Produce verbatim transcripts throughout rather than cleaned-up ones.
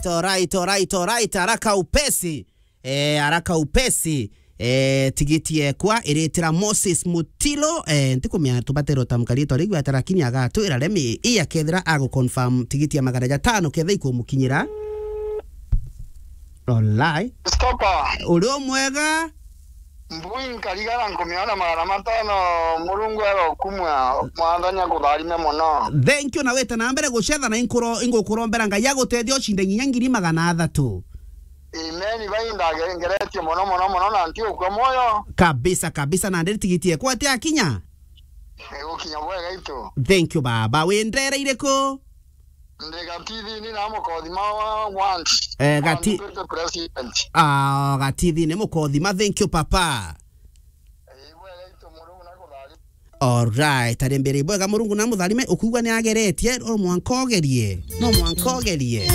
Alright, alright, alright, haraka upesi. Eh, haraka upesi. Eh, tigiti ekwa iritira Moses Mutilo. Eh, ntikumenya tubatero tamka ritwa riu ata, lakini agatwira remi iya kethira agu confirm tigiti ya magana jatano ketha ikumukinyira. Olai. Stopper. Uri umwega? Mbui nkarigara nkumiona magana matano, Murungu arokumwa, Mwathani akutharime mono. Thank you, na wite na mbere gucetha na inkuro, ingukurombera Ngai agutethia ucinde nginya ngiri magana athatu. Amen, bai ndagengeretie mono, mono, mono, na nti ukua moyo. Kabisa, kabisa, na ndiri tigiti ekwa ati akinya? Igukinya bwega itu. Thank you, baba. Wi ndere iriku? Ndi Gatithini na Mukothima wa want. Eh, Gati- Andikite president. Ah, Gatithini Mukothima. Thank you, papa. Eh, bwega itu Murungu na kuthari. Alright, ari mbere bwega Murungu na mutharime, ukugwa ni ageretie, no mwanka ogerie. No mwanka ogerie.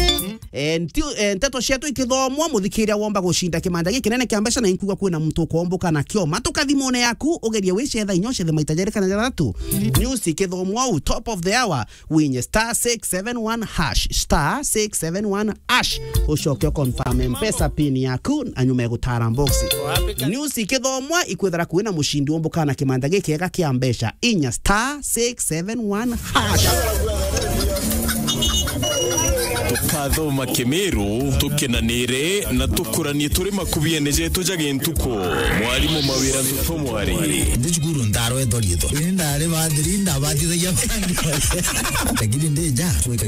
Eh, nti-, eh, nteto cietu ikithomwa, muthikiria womba gucinda kimanja gikinene kia mbeca na inkuga kwina muntu ukomboka na kioma. Tukathimone yaku, ugerie wicetha inya ucethe maita jeri kana jathatu. News ikithomwa u top of the hour, winye star six seven one hash, star six seven one hash. Ucoke uconfirm mpesa pin yaku, na nyuma ya gutara box. News ikithomwa, ikwithira kwina mucindi umbuka na kimanja gikiega kia mbeca, inya star six seven one hash. Tukathoma Kimiru, tukenanire na tukuranie turi makubiene jetu ja gintuku. Mwarimu Mawira Ntutu Mwari. Ndi cukuru ndarwetho riitho. Indi ndari bathiri, ndabatithagia. Lakini ndi nja, gwika